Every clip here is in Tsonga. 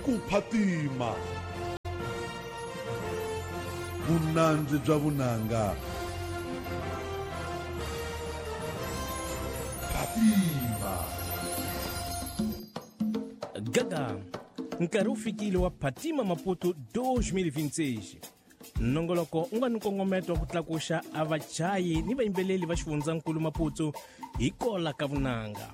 Ku phatima. Vunandzi bya vunanga. Phatima. Gaga, nkarhi wu fikile wa Phatima Maputo 2026. Nongoloko u nga ni nkongometo wa ku tlakuxa a vachayi ni vayimbeleli va xifundzankulu Maputo hi kola ka vunanga.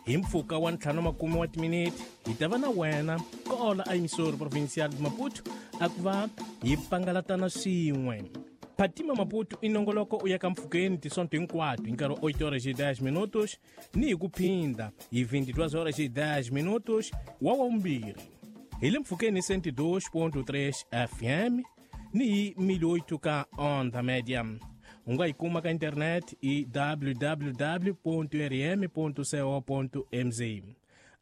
Hi mpfhuka wa 50 wa timinete hi ta va na wena kola a emisoro provincial de Maputo a ku va hi pangalatana swin'we. Phatima Maputo i nongoloko u ya ka mpfhukeni tisonto hinkwato hi nkarhi wa 8 horas e 10 minutos ni hi ku phinda hi 22 horas e 10 minutos wa wavumbirhi. Hi le mpfhukeni 102.3 FM ni hi 1008 ka onda média. U nga yi kuma ka internet i www.rm.co.mz.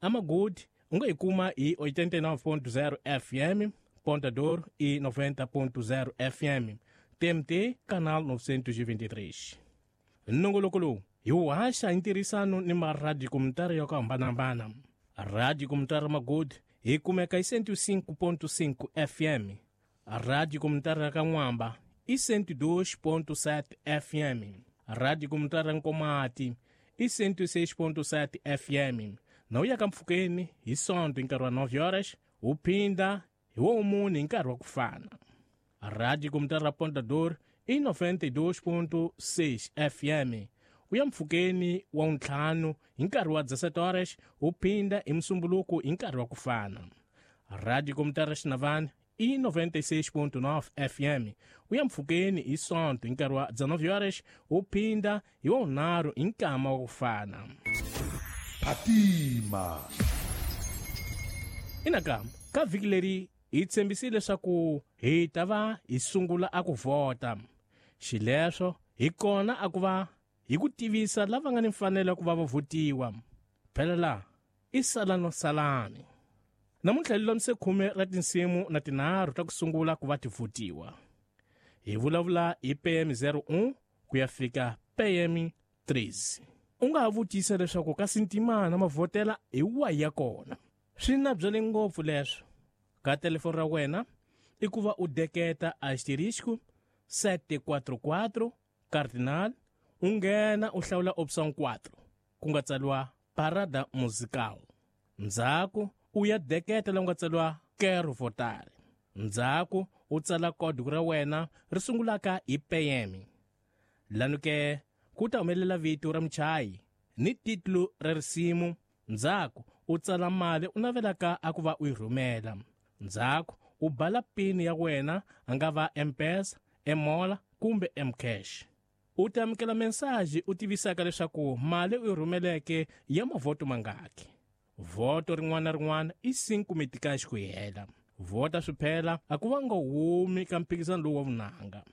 Amagodi u nga yi kuma hi 89.0 FM, Ponta Douro e 90.0 FM. TMT, canal 923. Nongoloko lowu hi wu haxa hi ntirhisano ni maradiyo komunitari ya ku hambanahambana. Radio Comunitária Magodi hi kumeka hi 105.5 FM. Radio Comunitária Kan'wamba i 102.7 FM. Radio Comunitária Nkomati i 106.7 FM. Na u ya ka mpfhukeni hi Sonto hi nkarhi wa 9 horas, u phinda hi wo mune hi nkarhi wa ku fana. Radio Comunitária Ponta Douro i 92.6 FM. U ya mpfhukeni wa ntlhanu hi nkarhi wa 17 horas, u phinda hi Musumbuluku hi nkarhi wa ku fana. Radio Comunitária Xinavane i 96.9 FM. U ya mpfhukeni hi Sonto hi nkarhi wa 19 horas, u phinda hi wa vunharhu hi nkama wa ku fana. Phatima. Inakambe ka vhiki leri hi tshembisile leswaku hi ta va hi sungula a ku vhota. Xileswo hi kona a ku va hi ku tivisa lava nga ni mfanelo ya ku va va vhotiwa. Phela laha i sala no salani. Namuntlha hi lulamise 10 ra tinsimu na tinharhu ta ku sungula ku va ti vhotiwa. Hi vulavula hi PM 01 ku ya fika PM 3. U nga ha vutisa leswaku kasi ntimana mavhotela hi wahi ya kona. Swi na byele ngopfu leswo. Ka telefoni ra wena i ku va u deketa asterisco 744 cardinal u nghena u hlawula option 4 ku nga tsariwa parada musical. Ndzhaku u ya deketa la ku nga tsariwa quero votar. Ndzhaku u tsala código ra wena ri sungulaka hi PM. Lanu ke ku ta humelela vito ra muchayi ni titulu ra risimu. Ndzhaku u tsala mali u navelaka a ku va u yi rhumela. Ndzhaku u bala pin ya wena, a nga va M-Pesa, M-Mola kumbe M-Cash. U ta amukela mensaji u tivisaka leswaku mali u yi rhumeleke ya mavhoto mangaki. Vhoto rin'wana na rin'wana i 5 metikaxi ku hela. Vhota swi phela a ku va nga humi ka mphikizano lowu wa vunanga.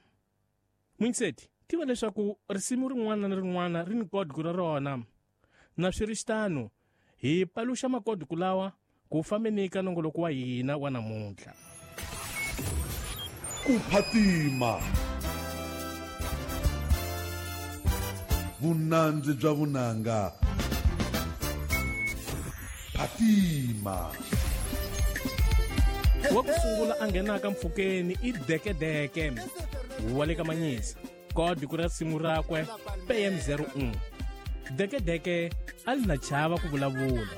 Muyingiseti, tiva leswaku risimu rin'wana na rin'wana ri ni kodiku ra rona. Na swi ri xitano, hi paluxa makodiku lawa ku fambeni ka nongoloko wa hina wa namuntlha. Ku phatima. Vunandzi bya vunanga. Phatima. Wa ku sungula a nghenaka mpfhukeni i Dekedeke wa le ka Manyisa. Kodiku ra risimu rakwe PM 01. Dekedeke a li na chava ku vulavula.